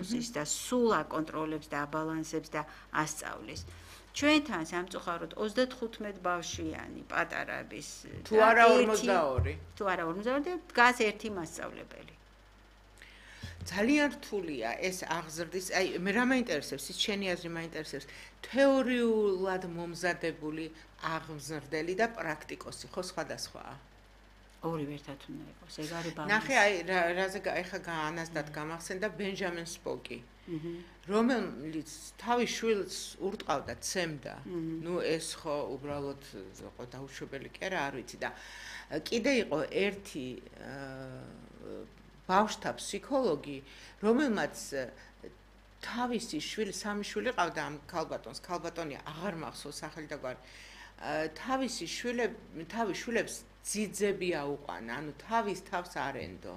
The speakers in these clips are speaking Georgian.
სტატუსის და სულ აკონტროლებს და აბალანსებს და ასწავლის. ჩვენთან სამწუხაროდ 35 ბავშვიანი პატარების თუ არა 42. თუ არა 42 და დგას ერთი მასწავლებელი. ძალიან რთულია ეს აღზრდის, აი მე რა მაინტერესებს, ის შენი აზრი მაინტერესებს, თეორიულად მომზადებული აღმზრდელი და პრაქტიკოსი ხო სხვადასხვაა? ორივე ერთად უნდა იყოს, ეგ არის ბალანსი. ნახე, აი რაზე ეხა განასდათ გამახსენდა ბენჯამინ სპოკი. რომელიც თავის შვილს ურტყავდა, ცემდა. ნუ ეს ხო უბრალოდ იყო დაუშვებელი კი არა, არ ვიცი და კიდე იყო ერთი ბავშვთა ფსიქოლოგი, რომელმაც თავისი შვილი, სამი შვილი ყავდა ამ ქალბატონს, ქალბატონი აღარ მახსოვს სახელი და გვარი. თავის შვილებს ძიძები აუყვანა, ანუ თავის თავს არ ენდო.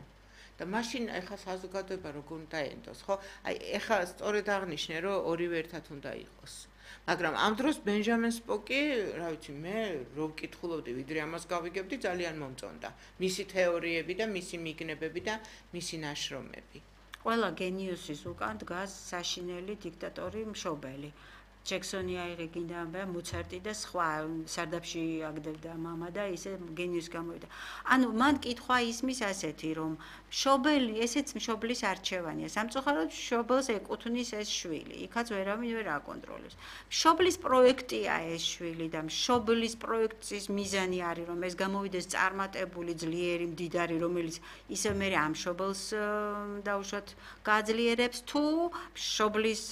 და მაშინ ეხა საზოგადოება როგორ უნდა ენდოს, ხო? აი ეხა სწორედ აღნიშნე, რომ ორივე ერთად უნდა იყოს. მაგრამ ამ დროს ბენჯამინ სპოკი, რა ვიცი, მე რო ვკითხულობდი, ვიდრე ამას გავიგებდი, ძალიან მომწონდა. მისი თეორიები და მისი მიგნებები და მისი ნაშრომები. ყველა გენიუსის უკან დგას საშინელი დიქტატორი მშობელი. ჯექსონი აიღე გინდა მოცარტი და სხვა სარდაფში აგდებდა მამა და ისე გენიუსი გამოვიდა. ანუ მან კითხვა ისმის ასეთი, რომ მშობელი, ესეც მშობლის არჩევანია. სამწუხაროდ მშობელს ეკუთვნის ეს შვილი, იქაც ვერავინ ვერ აკონტროლებს. მშობლის პროექტია ეს შვილი და მშობლის პროექტის მიზანი არის, რომ ეს გამოვიდეს წარმატებული, ძლიერი, მდიდარი, რომელიც ისე მერე ამ მშობელს დაუშვათ გააძლიერებს, თუ მშობლის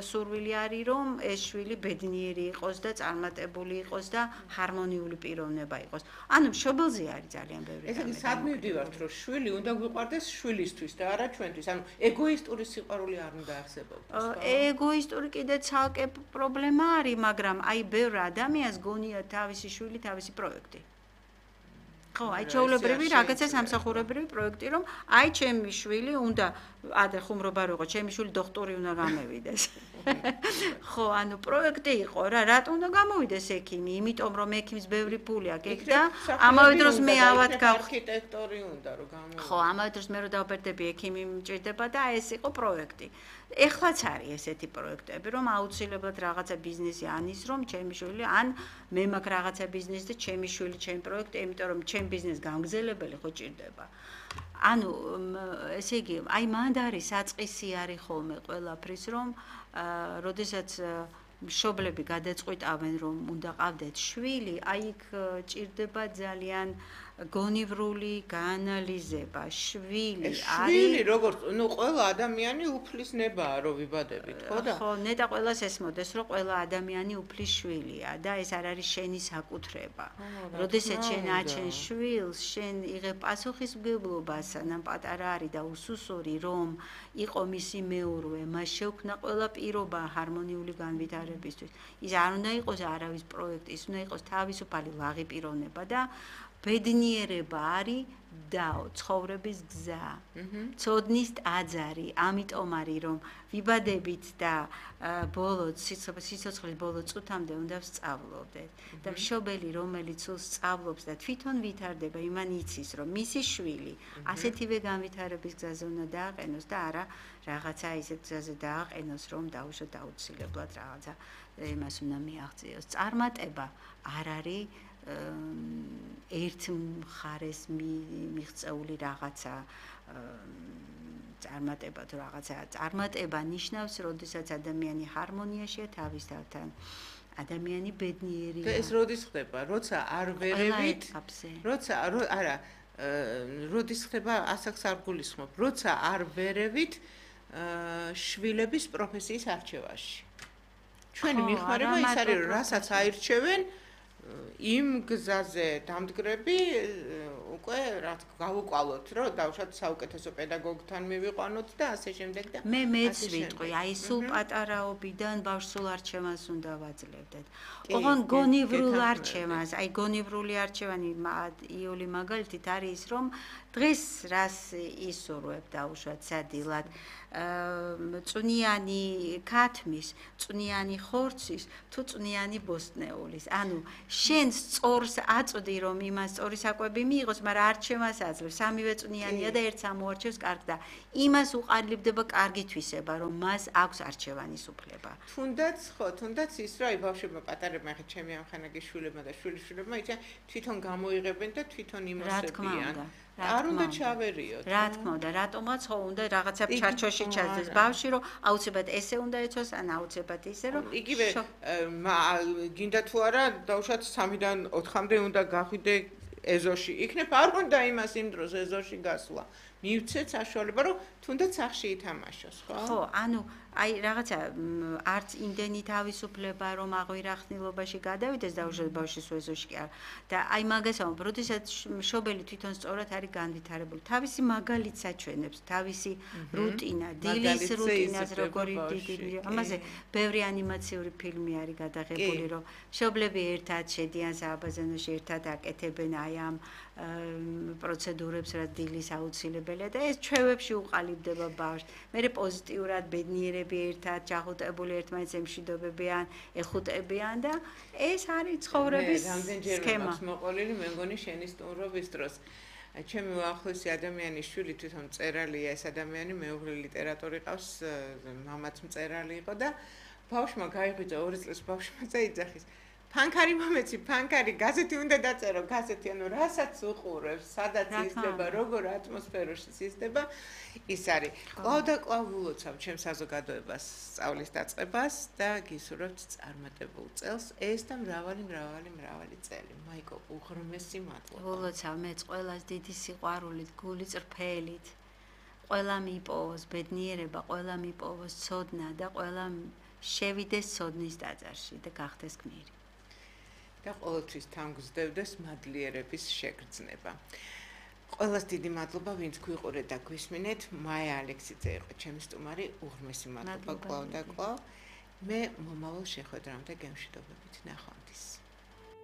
სურვილი არის, რომ ეს შვილი ბედნიერი იყოს და წარმატებული იყოს და ჰარმონიული პიროვნება იყოს. ანუ მშობელზე არის ძალიან ბევრი რამე. ესე სად მივდივართ, რომ შვილი უნდა გვიყვარდეს შვილისთვის და არა ჩვენთვის. ანუ ეგოისტური სიყვარული არ უნდა არსებობდეს. ეგოისტური კიდე ცალკე პრობლემა არის, მაგრამ აი ბევრ ადამიანს გონია თავისი შვილი, თავისი პროექტი. ხო, აი ჩაულებრივი რაღაცა სამსახურებრივი პროექტი, რომ აი ჩემი შვილი უნდა ადრე ხუმრობა რო იყო, ჩემი შვილი დოქტორი უნდა გამევიდეს. ხო, ანუ პროექტი იყო რა, რატომ უნდა გამოვიდეს ექიმი? იმიტომ რომ ექიმს ბევრი ფული აქვს ეგ და ამავე დროს მე ავად არქიტექტორი უნდა რომ გამოვიდეს. ხო, ამავე დროს მე რო დავბერდები ექიმი მჭირდება და ეს იყო პროექტი. ეხლაც არის ესეთი პროექტები, რომ აუცილებლად რაღაცა ბიზნესი ანის, რომ ჩემი შვილი ან მე მაქვს რაღაცა ბიზნესი და ჩემი შვილი, ჩემი პროექტი, იმიტომ რომ ჩემ ბიზნეს გამგზელებელი ხო ჭირდება. ანუ ესე იგი, აი მანდ არის საწყისი არის ხოლმე ყველაფრის, რომ როდესაც მშობლები გადაწყვიტავენ, რომ უნდა ყავდეთ შვილი, აი იქ ჭირდება ძალიან გონივრული გაანალიზება. შვილი შვილი როგორც, ნუ ყველა ადამიანი უფლის ნებაა, რომ ვიბადებით, ხო და? ხო, ნეტა ყველას ესმოდეს, რომ ყველა ადამიანი უფლის შვილია და ეს არ არის შენი საკუთრება. როდესაც შენ აჩენ შვილს, შენ იღებ პასუხისმგებლობას, სანამ პატარა არის და უსუსური, რომ იყო მისი მეურვე, მას შეუქმნა ყველა პირობა ჰარმონიული განვითარებისთვის. ის არ უნდა იყოს არავის პროექტი, ის უნდა იყოს თავისუფალი ლაღი პიროვნება და ბედნიერება არის დაო, ცხოვრების გზა. ცოდნის ტაძარი, ამიტომ არის, რომ ვიბადებით და ბოლო სიცოცხლის ბოლო წუთამდე უნდა ვსწავლობდეთ. და მშობელი, რომელიც სწავლობს და თვითონ ვითარდება, იმან იცის, რომ მისი შვილი ასეთივე განვითარების გზაზე უნდა დააყენოს და არა რაღაცა ისეთ გზაზე დააყენოს, რომ დაუშვათ აუცილებლად რაღაცა იმას უნდა მიაღწიოს. წარმატება არ არის ერთ მხარეს მიღწეული რაღაცა წარმატება თუ რაღაცა წარმატება ნიშნავს, როდესაც ადამიანი ჰარმონიაშია თავის თავთან. ადამიანი ბედნიერია. და ეს როდის ხდება? როცა არ ვერევით, როცა არა, როდის ხდება, ასაკს არ გულისხმობ, როცა არ ვერევით შვილების პროფესიის არჩევაში. ჩვენი მიხმარება ის არის, რომ რასაც აირჩევენ იმ გზაზე დამდგრები უკვე რა გავუყვალოთ, რომ დავუშვათ საუკეთესო პედაგოგთან მივიყვანოთ და ასე შემდეგ და მე მეც ვიტყვი, აი სულ პატარაობიდან ბავშვს არჩევანს უნდა ვაძლევდეთ. ოღონ გონივრულ არჩევანს, აი გონივრული არჩევანი იოლი მაგალითით არის ის, რომ დღეს რას ისურვებ დაუშვათ სადილად წვნიანი ქათმის, წვნიანი ხორცის, თუ წვნიანი ბოსტნეულის. ანუ შენ სწორს აწვდი რომ იმას სწორი საკვები მიიღოს, მაგრამ არჩევას აძლევს. სამივე წვნიანია და ერთს ამოარჩევს კარგ და იმას უყალიბდება კარგი თვისება, რომ მას აქვს არჩევანის უფლება. თუნდაც ის რა ბავშვებმა პატარებმა ხე ჩემი ამხანაგის შვილებმა და შვილიშვილებმა იციან თვითონ გამოიღებენ და თვითონ იმოსებიან. არ უნდა ჩავერიოთ. რა თქმა უნდა, რატომაც ხო უნდა რაღაცა ჩარჩოში ჩაძდეს ბავშვი, რომ აუცილებლად ესე უნდა ეცოს, ან აუცილებლად ისე, რომ იგივე გინდა თუ არა, დაუშვათ 3-დან 4-მდე უნდა გახვიდე ეზოში. იქნებ არ უნდა იმას იმ დროს ეზოში გასვლა. მივცეთ საშუალება, რომ თუნდაც სახში ითამაშოს, ხო? ხო, ანუ აი რაღაცა არც იმდენი თავისუფლება რომ აღვირახნილობაში გადავიდეს დაუშვათ ბავშვის ეზოში კი არა. და აი მაგას ამბობ, როდესაც მშობელი თვითონ სწორად არის განვითარებული, თავისი მაგალითს აჩვენებს, თავისი რუტინა, დილის რუტინას როგორი დიდი. ამაზე ბევრი ანიმაციური ფილმი არის გადაღებული, რომ მშობლები ერთად შედიან სააბაზანოში, ერთად აკეთებენ აი ამ პროცედურებს, რაც დილის აუცილებელია და ეს ჩვევებში უყალიბდება ბავშვს. მერე პოზიტიურად ბედნიერები ერთად ჯახუტებული ერთმანეთს ემშვიდობებიან, ეხუტებიან და ეს არის ცხოვრების სქემა. მოყოლილი მე მგონი შენი სტუმრობის დროს. ჩემი უახლოესი ადამიანის შვილი თვითონ მწერალია, ეს ადამიანი მეუღლე ლიტერატორი ყავს, მამაც მწერალი იყო და ბავშვმა გაიღვიძა 2 წლის ბავშვმა წაიძახის. ფანქარი მომეცი, ფანქარი, გაზეთი უნდა დაწერო, გაზეთი, ანუ რასაც უყურებს, სადაც ისდება, როგორ ატმოსფეროში ისდება, ის არის. კлау და კлау ვლოცავ ჩემ საზოგადოებას, სწავლის დაწყებას და გისურვებთ წარმატებულ წელს, ეს და მრავალი წელი. მაიკო, უღრმესი მადლობა. ვლოცავ მეც ყველას დიდი სიყვარულით, გული წრფელით. ყველა მიპოვოს ბედნიერება, ყველა მიპოვოს ცოდნა და ყველა შევიდეს ცოდნის ტაძარში და გახდეს გმირი. და ყოველთვის თამგზდევდეს მადლიერების შეგრძნება. ყველას დიდი მადლობა, ვინც გვიყურეთ და გვისმინეთ. მაია ალექსიძე იყო ჩემი სტუმარი, უღრმესი მადლობა კлау და კлау. მე მომავალ შეხვედრამდე გემშვიდობებით, ნახვამდის.